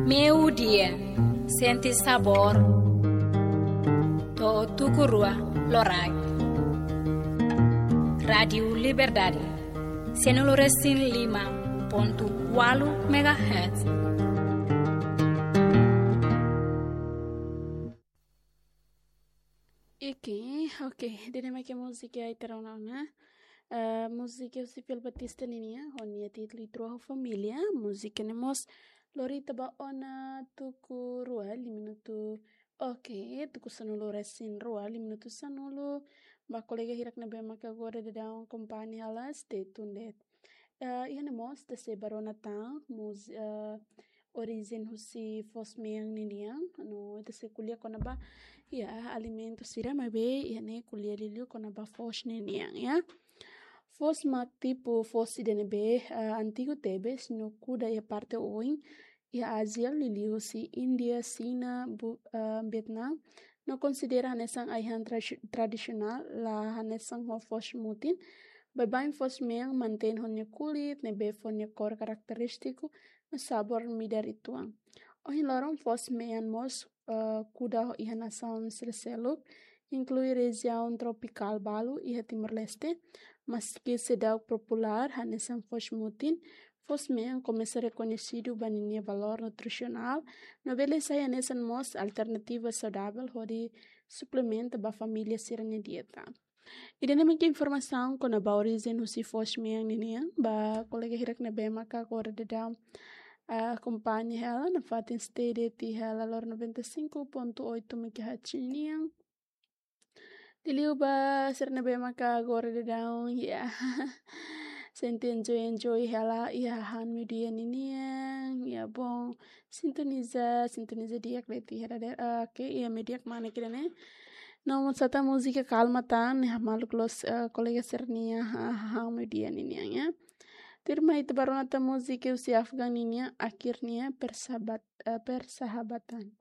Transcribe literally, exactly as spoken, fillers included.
Meiudia, sente sabór. To'o tuku rua loraik. Rádiu Liberdade, sanulu resin lima pontu ualu megahertz. Oke, oke. Ida-ne'e mak múzika ita rona ona. Eh, múzika husi Phil Batista ninian, ho nia títulu Ita Rua ho Família. Múzika ne'e mós lori ita ba ona tuku rua, lia minutu. Oke, tuku sanulu resin rua, lia minutu sanulu. Ba kolega hirak ne'ebé maka agora daudaun akompaña hela, stay tuned. Eh, iha ne'e mós ita sei bá rona tan, múz-, eh, orijen husi foos-mean ninian, no ita sei ko'alia kona-ba, iha, alimentu sira maibé, iha ne'e ko'alia liuliu kona-ba foos ninian, ya. Foos mak tipu foos ida ne'ebé, eh, antigu tebes, no kuda iha parte oin, iha Ázia, liuliu husi Índia, Xina, Bu-, eh, Vietnam, no konsidera hanesan ai-han tra-, tradisionál, la hanesan ho foos mutin. Baibain foos-mean mantein ho nia kulit, ne'ebé fó nia kór karakterístiku, no sabór midar uitoan. Ohin loron foos-mean mós, eh, kuda iha nasaun sira-seluk, inklui rejiaun tropikál balu iha Timor-Leste, maski seidauk populár hanesan foos mutin, foos-mean komesa rekoñesidu ba ninia valór nutrisionál, no bele sai hanesan mós alternativa saudavel hodi suplementa ba família sira-nia dieta. Ida-ne'e mak informasaun kona-ba orijen husi foos-mean ninian, ba kolega hirak ne'ebé maka agora daudaun, ah, akompaña hela, nafatin stay de'it iha hela loron noventa e cinco ponto oito megahertz ninian. Liuliu ba sira ne'ebé maka agora daudaun, ya. Sente enjoy, enjoy hela iha hahán meiudia ninian, ya, bom. Sintoniza, sintoniza di'ak de'it iha dadeer, ah, oke, iha média ida-ne'e. No mós atu múzika kalma tan, ya, maluk loos, eh, kolega sira-nia, ha, hahán meiudia ninian, ya. Tuirmai ita bá rona tan múzika husi Afgan ninian, Akhirnya Persahabat-, eh, Persahabatan.